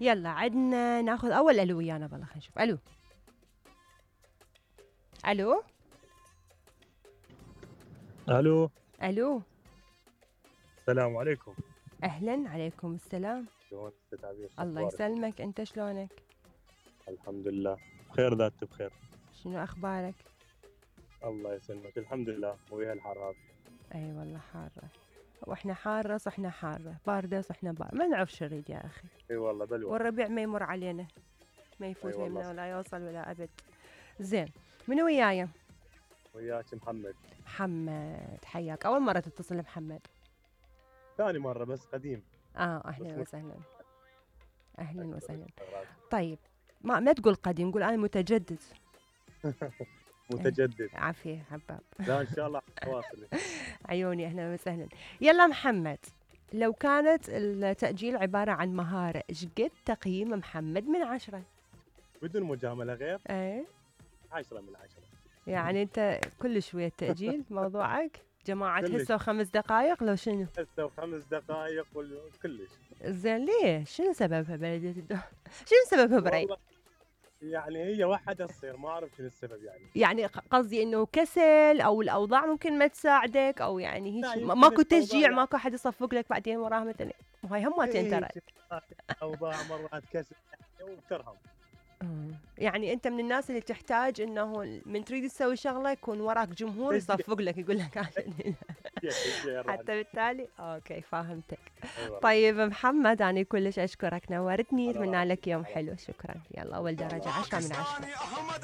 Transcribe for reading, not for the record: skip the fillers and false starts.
يلا عدنا ناخذ اول الو ويانا بالله. خلينا نشوف. الو الو الو، الو. السلام عليكم. اهلا، عليكم السلام. شلونك ست عبير؟ الله يسلمك، انت شلونك؟ الحمد لله بخير، ذات بخير. شنو اخبارك؟ الله يسلمك، الحمد لله. ويا الحر هذا. اي والله حاره، واحنا حاره صحنا حاره، بارده صحنا بارده، ما نعرف شو نريد يا اخي. اي والله بلوى. والربيع ما يمر علينا، ما يفوت أي والله. يمنا ولا يوصل ولا ابد. زين، منو وياي؟ وياك محمد. محمد، حياك. اول مره تتصل محمد؟ ثاني مرة بس قديم. اهلا بس وسهلا. اهلا وسهلا. شغلات. طيب، ما تقول قديم، قول انا متجدد. متجدد. عافيه حباب. لا ان شاء الله تواصل. عيوني، اهلا وسهلا. يلا محمد، لو كانت التأجيل عبارة عن مهارة، ايش قد تقييم محمد من 10؟ بدون مجاملة غير. ايه 10 من 10. يعني انت كل شوية تأجيل موضوعك؟ جماعة كلش. هسه و5 دقائق لو شنو؟ هسه و5 دقائق كلش. زين ليه؟ شنو سببها بلدية الدوام؟ شنو سببها بري؟ والله يعني هي وحدة تصير، ما اعرف شنو السبب يعني. يعني قصدي انه كسل او الاوضاع ممكن ما تساعدك، او يعني لا، هيك يمكن ماكو الأوضاع تشجيع، يعني. ماكو احد يصفق لك بعدين وراها مثلا. هاي هماتين ترى. اوضاع مرات كسل وترهم. يعني انت من الناس اللي تحتاج انه من تريد تسوي شغله يكون وراك جمهور يصفق لك، يقول لك عشان حتى بالتالي اوكي فاهمتك. أيوة. طيب محمد، انا كلش اشكرك، نورتني، على اتمنى رأسي. لك يوم حلو. شكرا. يلا اول درجه 10 من 10.